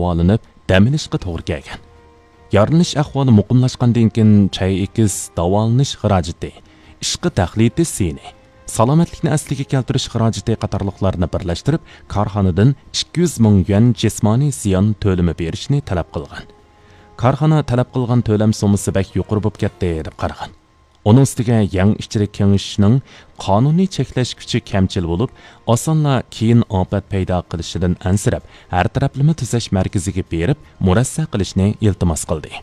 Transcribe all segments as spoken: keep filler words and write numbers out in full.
داۋالىنىپ، دەم ئېلىشقا توغرا كەلگەن. يارىلىنىش ئەھۋالى مۇقىملاشقاندىن كېيىن، چاي ئېكىس، داۋالىنىش خىراجىتى، ئىشقا تەقلىدى زىيىنى، سالامەتلىكنى ئەسلىگە كەلتۈرۈش خىراجىتى قاتارلىقلارنى بىرلەشتۈرۈپ، كارخانىدىن ئىككى يۈز مىڭ يۈەن جىسمانىي زىيان تۆلىمى بېرىشنى تەلەپ قىلغان. كارخانا تەلەپ قىلغان تۆلەم سوممىسى بەك يۇقىرى بولۇپ كەتتى، دەپ قارىغان. ئۇنىڭ ئۈستىگە يەڭ ئىچىرى كېڭىشىشنىڭ قانۇنىي چەكلەش كۈچى كەمچىل بولۇپ، ئاسانلا كېيىن ئاپەت پەيدا قىلىشىدىن ئەنسىرەپ، ھەر تەرەپلىمە تۈزەش مەركىزىگە بېرىپ، مۇرەسسە قىلىشنى ئىلتىماس قىلدى.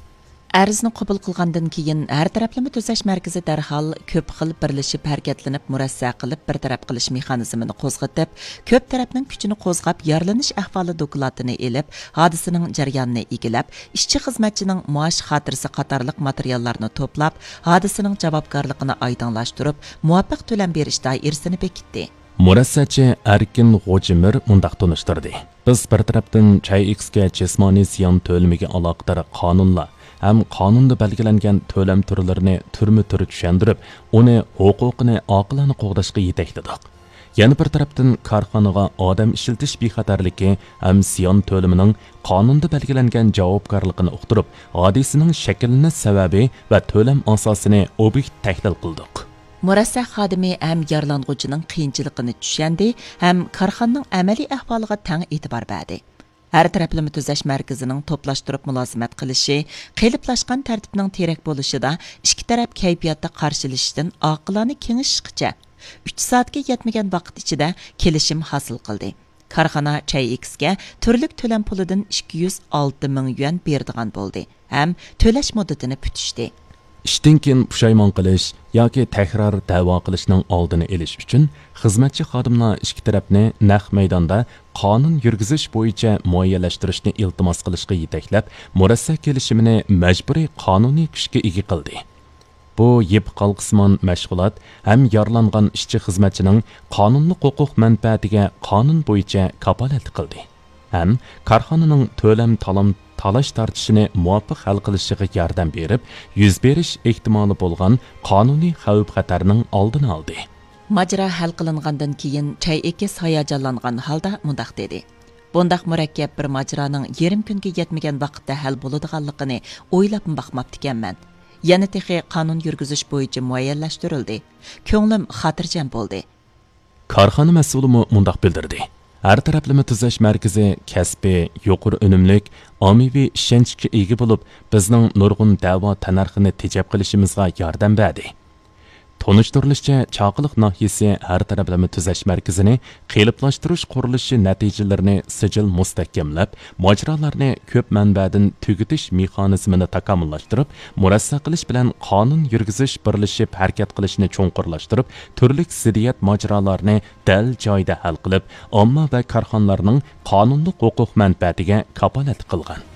ئەرزنى قوبۇل قىلغاندىن كېيىن، ھەر تەرەپلىمە تۈزەش مەركىزى دەرھال كۆپ خىل بىرلىشىپ ھەرىكەتلىنىپ، مۇرەسسە قىلىپ بىر تەرەپ قىلىش مېخانىزمىنى قوزغىتىپ، كۆپ تەرەپنىڭ كۈچىنى قوزغاپ، يارىلىنىش ئەھۋالى دوكلاتىنى ئېلىپ، ھادىسىنىڭ جەريانىنى ئىگىلەپ، ئىشچى خىزمەتچىنىڭ مائاش خاتىرىسى قاتارلىق ماتېرىياللارنى توپلاپ، ھادىسىنىڭ جاۋابكارلىقىنى ئايدىڭلاشتۇرۇپ، مۇۋاپىق تۆلەم بېرىش دائىرىسىنى بېكىتتى. مۇرەسسەچى ئەركىن غوجىمىر مۇنداق تونۇشتۇردى: بىز بىر تەرەپتىن چاي ئېكىسكە جىسمانىي زىيان تۆلىمىگە ئالاقىدار قانۇنلار ھەم قانۇندا بەلگىلەنگەن تۆلەم تۈرلىرىنى تۈرمە تۈر چۈشەندۈرۈپ، ئۇنى ھوقۇقىنى ئاقىلانە قوغداشقا يېتەكلىدۇق. يەنە بىر تەرەپتىن، كارخانىغا ئادەم ئىشلىتىش بىخەتەرلىكى ھەم زىيان تۆلىمىنىڭ قانۇندا بەلگىلەنگەن جاۋابكارلىقىنى ئۇقتۇرۇپ، ھادىسىنىڭ شەكىللىنىش سەۋەبى ۋە تۆلەم ئاساسىنى ئوبيېكتىپ تەھلىل قىلدۇق. مۇرەسسە خادىمى ھەم يارىلانغۇچىنىڭ قىيىنچىلىقىنى چۈشەندى ھەم كارخانىنىڭ ئەمەلىي ئەھۋالىغا تەڭ ئېتىبار بەردى. ھەر تەرەپلىمە تۈزەش مەركىزىنىڭ توپلاشتۇرۇپ مۇلازىمەت قىلىشى، قېلىپلاشقان تەرتىپنىڭ تېرەك بولۇشىدا ئىككى تەرەپ كەيپىياتتا قارشىلىشىشتىن ئاقىلانە كېڭىشىشقىچە، ئۈچ سائەتكە يەتمىگەن ۋاقىت ئىچىدە كېلىشىم ھاسىل قىلدى. كارخانا چاي ئېكىسكە تۈرلۈك تۆلەم پۇلىدىن ئىككى يۈز ئالتە مىڭ يۈەن بېرىدىغان بولدى ھەم تۆلەش مۇددىتىنى پۈتۈشتى. ئىشتىن كېيىن پۇشايمان قىلىش ياكى تەكرار دەۋا قىلىشنىڭ ئالدىنى ئېلىش ئۈچۈن، خىزمەتچى خادىملار ئىككى تەرەپنى نەق مەيداندا قانۇن يۈرگۈزۈش بويىچە مۇئەييەنلەشتۈرۈشنى ئىلتىماس قىلىشقا يېتەكلەپ، مۇرەسسە كېلىشىمىنى مەجبۇرىي قانۇنىي كۈچكە ئىگە قىلدى. بۇ يىپ ھالقىسىمان مەشغۇلات ھەم يارىلانغان ئىشچى خىزمەتچىنىڭ قانۇنلۇق ھوقۇق مەنپەئەتىگە قانۇن بويىچە كاپالەتلىك قىلدى ھەم كارخانىنىڭ تۆلەم تالام تالاش تارتىشىنى مۇۋاپىق ھەل قىلىشىغا ياردەم بېرىپ، يۈز بېرىش ئېھتىمالى بولغان قانۇنىي خەۋپ-خەتەرنىڭ ئالدىنى ئالدى. ماجىرا ھەل قىلىنغاندىن كېيىن، چاي ئېكىس ھاياجانلانغان ھالدا مۇنداق دېدى: بۇنداق مۇرەككەپ بىر ماجىرانىڭ يېرىم كۈنگە يەتمىگەن ۋاقىتتا ھەل بولىدىغانلىقىنى ئويلاپمۇ باقماپتىكەنمەن. يەنە تېخى قانۇن يۈرگۈزۈش بويىچە مۇئەييەنلەشتۈرۈلدى. كۆڭلۈم خاتىرجەم بولدى. كارخانا مەسئۇلىمۇ مۇنداق بىلدۈردى: ھەر تەرەپلىمە تۈزەش مەركىزى كەسپىي، يۇقىرى ئۈنۈملۈك، ئاممىۋى ئىشەنچكە ئىگە بولۇپ، بىزنىڭ نۇرغۇن دەۋا تەننەرخىنى تېجەپ قېلىشىمىزغا ياردەم بەردى. تونۇشتۇرۇلۇشىچە، چاقىلىق ناھىيەسى ھەر تەرەپلىمە تۈزەش مەركىزىنى قېلىپلاشتۇرۇش قۇرۇلۇشى نەتىجىلىرىنى سىجىل مۇستەھكەملەپ، ماجىرالارنى كۆپ مەنبەدىن تۈگىتىش مېخانىزمىنى تاكامۇللاشتۇرۇپ، مۇرەسسە قىلىش بىلەن قانۇن يۈرگۈزۈش بىرلىشىپ ھەرىكەت قىلىشنى چوڭقۇرلاشتۇرۇپ، تۈرلۈك زىددىيەت ماجىرالارنى دەل جايىدا ھەل قىلىپ، ئامما ۋە كارخانىلارنىڭ قانۇنلۇق ھوقۇق مەنپەئەتىگە كاپالەتلىك قىلغان.